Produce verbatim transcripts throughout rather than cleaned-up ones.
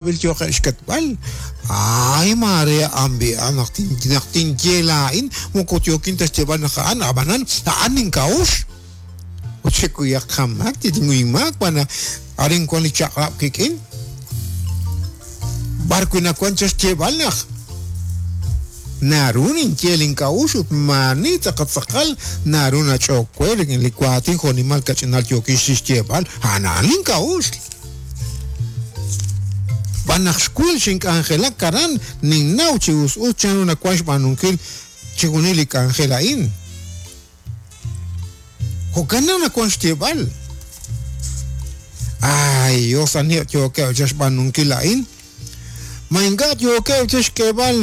Yoqe' Ay, Maria, ambi, naq naq tinye laa'in moko yookin ta xyeeb'al naq a'an ab'anan a'an nink'a'uxl ut xekuyaq qamaak tinuymaak b'an arin wan li chaq'rab' kik'in b'ar wi' nawan cha xyeeb'al naq naru ninye link'a'uxl ut maani tz'aqal tz'aqal naru nach'ok we rik'in li waatin jo'nimal kach'inal yookin xyeeb'al a'an a'an link'a'uxl b'an naq xwil xink'anjelak aran ninnaw chi us us chanru nawan xb'aanunkil chixjunil li k'anjel a'in jo'kan naq nawan xyeeb'al ay Dios aniheb' yookeb' cha xb'aanunkil a'in ma ink'a' yookeb' cha xk'eeb'al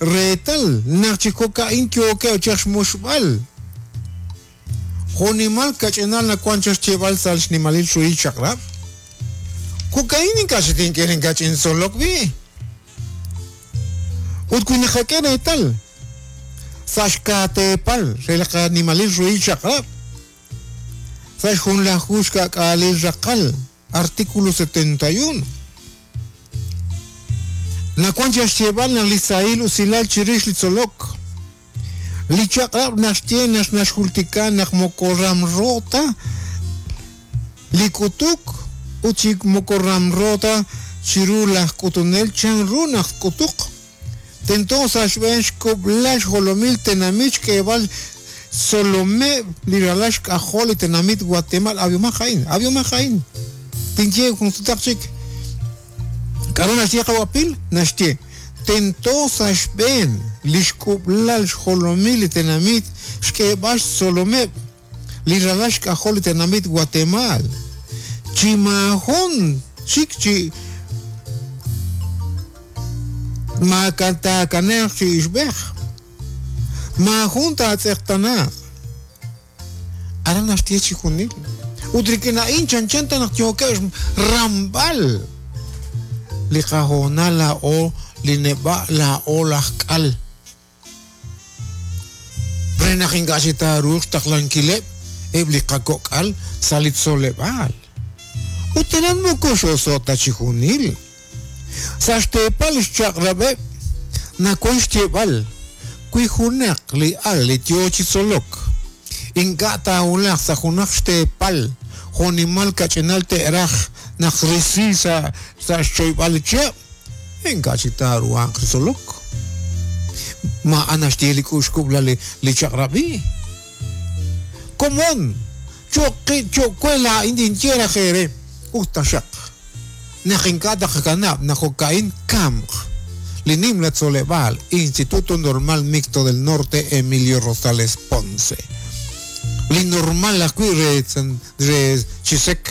reetal naq chi jo'ka'in yookeb' cha xmuxb'al jo'nimal kach'inal nawan cha xyeeb'al sa' xnimalil ruhil chaq'rab' jo'ka'in ink'a' xetink'e inkach'intzolok b'i ut wi naqak'e reetal sa' xkaateepal re li qanimalil ruhil chaq'rab' sa' xjunlaju xka'k'aalil raqal artículo setenta y uno nawan cha xyeeb'al naq li sahil usilal chirix li tzolok li chaq'rab' naxye naq naxjultika naq moko ramro ta li k'utuk ut chi moko ramro ta chiru laj k'utunel chanru naq k'utuq tento sa' xb'een xk'ub'lal xjolomil tenamit xk'eeb'al tzolomeb' li ralal xk'ajol li tenamit Guatemala ab'iomaq a'in ab'iomaq a'in tinye jun sutaq chik k'aru naxye qawapil naxye tento sa' xb'een li xk'ub'lal xjolomil li tenamit xk'eeb'al xtzolomeb' li ralal xk'ajol li tenamit Guatemala chi maajun chik chi maakataakanaq chi ixb'ej maajun taatz'eqtanaaq aran naxye chixjunil ut rik'in a'in chanchan ta naq yookeb' ramb'al li qahoonal laa'o li neb'a' laa'o laj k'al re naq ink'a' xitaaruuq xtaqlankileb' eb' li qakok'al sa' li tzoleb'aal ut aran moko xo'so ta chixjunil sa' xteepal xchaq'rab'eb' nawan xyeeb'al wi junaq li al li yoo chi tzolok ink'a' taawulaq sa' junaq xteepal jo'nimal kach'inal te'raj naq risi sa' sa' xchoyb'al li chihab' ink'a' chi taaruhanq li tzolok ma'an naxye li k'uxkub'lal li li chaq'rab'i komon choqi cho'we laa'in tinye raj eere ut taxaq naq ink'a' taqakanab' naq jo'ka'in kamq li nimla tzoleb'aal Instituto Normal Mixto del Norte Emilio Rosales Ponce li normal ajwi' re re Chisek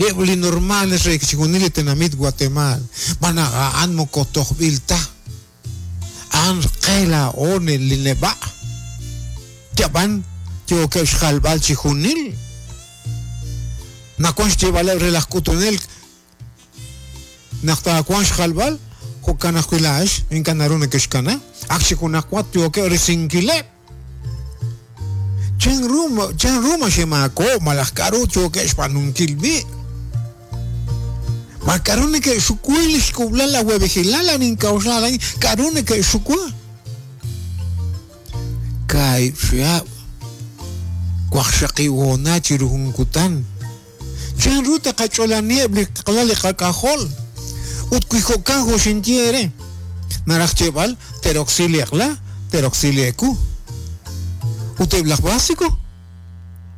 eb' li normales re chixjunil li tenamit Guatemala b'an naq a'an moko tojb'il ta a'an qe laa'o li neb'a' yab'an yookeb' xjalb'al chixjunil nawan xyeeb'aleb' re laj k'utunel naq taawan xjalb'al jo'kan ajwi' laa'ex ink'a' naru neke'xkana ak chi junaq wat yookeb' risinkileb' chanru chanru ma xemaako' malaj k'aru yookeb' xb'aanunkil b'i' ma k'aru neke'xukui li xk'ub'lal la awab'ejilal anink'a'uxla a'in k'aru neke'xukua kaahib' chihab' waqxaqib' hoonal chiru jun kutan chanru taqach'olaniheb' li qalal li qak'ajol ut wi jo'kan jo' xinye eere naraj xyeeb'al te'roksi li eq'la te'roksi li eku ut eb' laj básico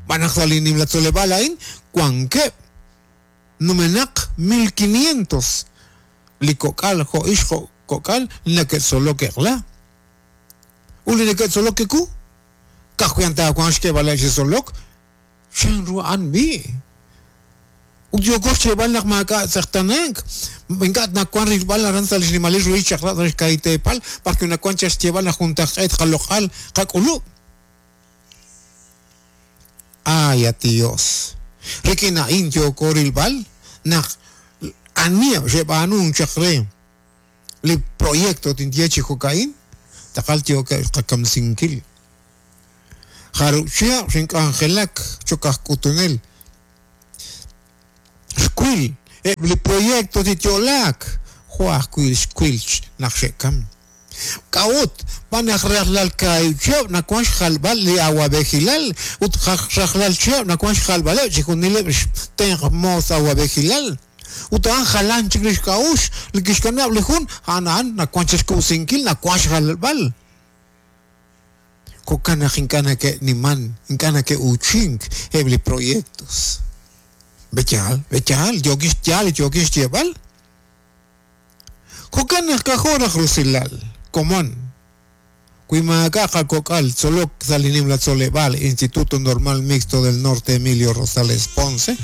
b'an naq sa' li nimla tzoleb'aal a'in wankeb' numenaq mil quinientos li kok'al jo' ix jo' kok'al neke'tzolok eq'la ut li neke'tzolok eku ka'ajwi' taawanq xk'eeb'aleb' chi tzolok chanru a'an b'i' ut yooko xyeeb'al naq maak'a' tz'eqtanank ink'a' nawan rilb'al aran sa' li xnimalil ruhil chaq'rab' sa' xka'iteepal b'ar wi' nawan cha xyeeb'al naq juntaq'eet qaloq'al qak'ulub' ay at Dios rik'in a'in yooko rilb'al naq aniheb' xeb'aanunk chaq re li proyecto tinye chi jo'ka'in taqal yookeb' qakamsinkil jarub' chihab' xink'anjelak cho'q aj k'utunel xwil eb' li proyecto tityo'laak jo' ajwi' xwil naq xe'kam. K'a'ut b'an naq rajlal kaahib' chihab' nawan xjalb'al li awab'ejilal ut rajlal chihab' nawan xjalb'aleb' chixjunileb' xtenq moos awab'ejilal. Ut a'an jalan chik li xk'a'uxl li kixkanab' li jun a'an a'an nawan chixkub'sinkil nawan xjalb'al. Jo'kan naq ink'a' nake'niman ink'a' nake'uuchink eb' li proyectos. B'eyaal, b'eyaal, yookin xyaal yookin xyeeb'al. Jo'kan naq k'ajo' raj rusilal komon. Wi maak'a' qakok'al tzolok sa' li nimla tzoleb'aal Instituto Normal Mixto del Norte Emilio Rosales Ponce,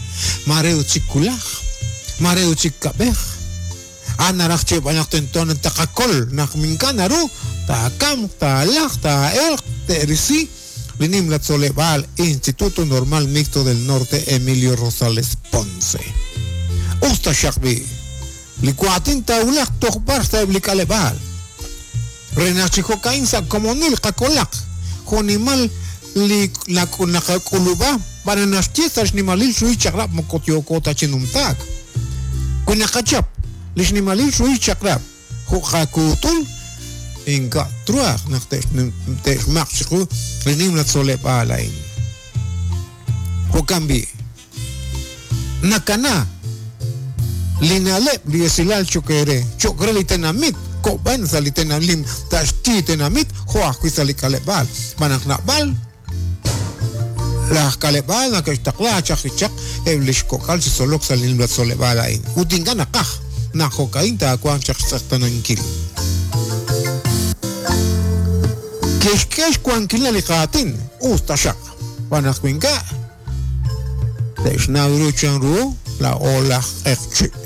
mare ut chik kulaj, mare ut chik kab'ej. A'an naraj xyeeb'al naq tento taqakol naq ink'a' naru taakamq, taalaj, taa'elq, te'risi li nimla tzoleb'aal Instituto Normal Mixto del Norte Emilio Rosales Ponce. Us taxaq b'i' li waatin taawulaq toj b'ar sa'eb' li k'aleb'aal. Re naq chi jo'ka'in sa' komonil qakolaq jo'nimal li naqak'ulub'a b'an naxye sa' xnimalil xruhil chaq'rab' moko yooko ta chi numtaak. Wi naqachap li xnimalil xruhil chaq'rab' jo' qakuutul ink'a' truaj naq te'xmaq chiqu li nimla tzoleb'aal a'in. Jo'kan b'i' nakana li na'leb' li esilal cho'q re cho'q re li tenamit ko'b'an sa' li tenamit taxti tenamit jo' ajwi' sa' li k'aleb'aal. B'an naq nab'al laj k'aleb'aal nake'xtaqla chaq li chaq eb' li xkok'al chi tzolok sa' li nimla tzoleb'aal a'in. Ut ink'a' naqaj naq jo'ka'in taawanq chaq xtz'eqtanankil. Ke'xk'e xwankil li qaatin us taxaq. B'an naq wi ink'a' te'xnaw ru chanru laa'o laj q'eqchi'.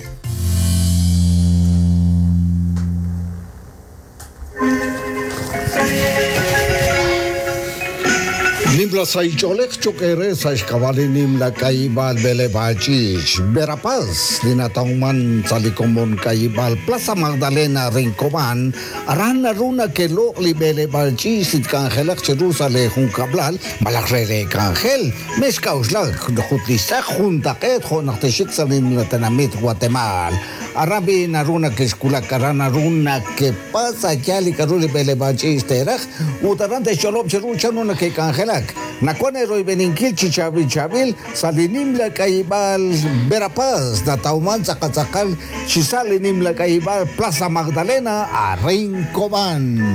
Nimla saich'oolej cho'q re sa' xk'ab'a' li nimla k'ayib'aal b'eleb'aal ch'iich' Verapaz li natawman sa' li komon k'ayib'aal Plaza Magdalena Rincobán aran naru nake'loq' li b'eleb'aal ch'iich' li tk'anjelaq chiru sa' li junkab'lal malaj re re k'anjel mex k'a'uxlak jut li xtz'aq juntaq'eet jo' naq texik sa' li nimla tenamit Guatemala. Aran b'i naru nake'xkulak aran naru nakepasa yaal li k'aru li b'eleb'aal ch'iich' teeraj ut aran te'xch'olob' chiru chanru nake'k'anjelak. Nakuan eroyb'eninkil chi chaab'il chaab'il sa' li nimla k'ayib'aal Verapaz natawman tz'aqatz'aqal chi sa' li nimla k'ayib'aal Plaza Magdalena a Rincobán.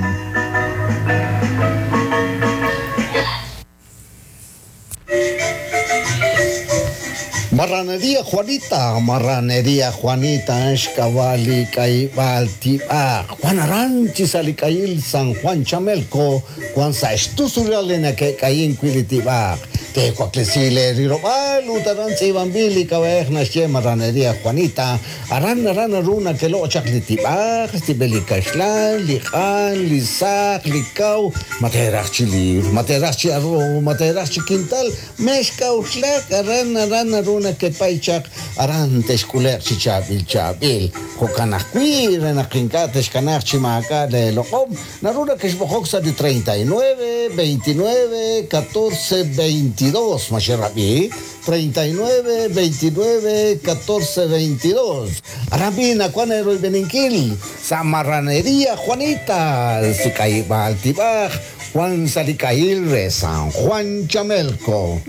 Marranería Juanita, Marranería Juanita, xk'ab'a' k'ayib'aal tib'aq. Juan Aranchi sa' li k'ayil San Juan Chamelco, Juan sa' xtusulal li nake'k'ayin wi' li tib'aq. Te'waklesi le rirob'aal ut aran tz'iib'anb'il li k'ab'a'ej naxye Marranería Juanita. Aran aran naru nake'loq' chaq li tib'aq, xtib'el li kaxlan, li q'an, li saq, li kaw, ma teeraj chi liir, ma teeraj chi arroz, ma teeraj chi quintal, mex k'a'uxlak aran aran naru nakepay chaq aran texk'ule'q chi chaab'il chaab'il. Jo'kan ajwi' re naq ink'a' texkanaq chi maak'a' le loq'om naru nakexb'oqok sa' li treinta y nueve, veintinueve, catorce, veintidós. Ma xerab'i treinta y nueve, veintinueve, catorce, veintidós. Aran b'i nakuan eroyb'eninkil sa' Marranería Juanita si k'ayib'aal tib'aj Juan sa' li k'ayil re San Juan Chamelco.